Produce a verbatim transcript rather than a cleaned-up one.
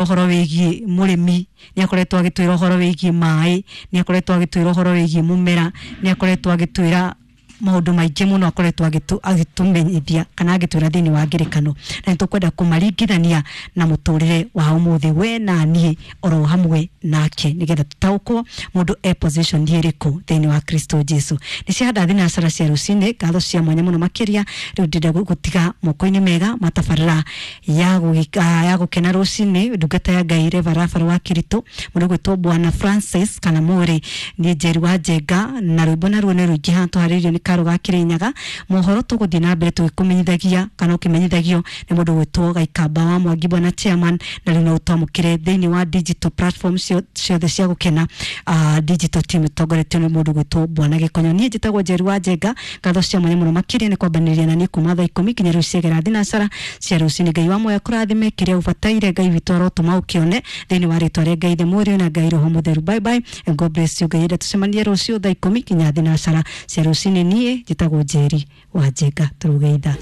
Ũhoro wĩgiĩ mũrĩmi, nĩ akoretwo agĩtwĩra ũhoro wĩgiĩ maĩ, nĩ akoretwo agĩtwĩra ũhoro wĩgiĩ mũmera, nĩ akoretwo agĩtwĩra maũndũ maingĩ mũno, akoretwo agĩtũmenyithia kana agĩtwĩra thĩinĩ wa ngerekano, na nĩ tũkwenda kũmaringithania na mũtũrĩre wa ũmũthĩ, we na niĩ oro hamwe nake, nĩgetha tũtaũkwo mũndũ e position ĩrĩkũ thĩinĩ wa Kristo Jesu. Nĩ ciahanda thinacara cia rũcinĩ. Ngatho cia mwanya mũno makĩria rĩu ndĩrenda gũtiga moko-inĩ mega matabarĩra ya gũgĩka- ya gũkena rũcinĩ, ndungata ya Ngai Reverend wa Kiritũ, mũndũ gwĩtwo Bwana Francis kana Mũrĩ. Niĩ Njeri wa Njenga, na rwĩmbo naruo nĩ rũingĩ haha tũharĩrĩirio nĩ Karo ga Kĩrĩnyaga. Mohoro tũgũthiĩ na mbere tũgĩkũmenyithagia kana ũkĩmenyithagio nĩ mũndũ gwĩtwo Gaikamba wa Mwangi, bwana chairman. Na rĩu no ũtwamũkĩre thĩinĩ wa digital platform ciothe cia gũkena, uh, digital team ĩtongoretio nĩ mũndũ gwĩtwo Bwana Gĩkonyo. Niĩ njĩtagwo Njeri wa Njenga. Ngatho cia mwanya mũno makĩria nĩ kwambanĩrĩria na niĩ kuma thaa ikũmi nginya rĩu ciegera thinacara cia rũcinĩ. Ngai wa moya kũrathime kĩrĩa ũbataire. Ngai witũ arotũma ũkĩone thĩinĩ wa rĩtwa rĩa Ngai the Mũriũ na Ngai Roho Mũtheru. Bye bye and God bless you. Ngai enda tũcemanie rũciũ thaa ikũmi nginya thinacara cia rũcinĩ. Niĩ njĩtagwo Njeri wa Njenga. Tũrũgeitha.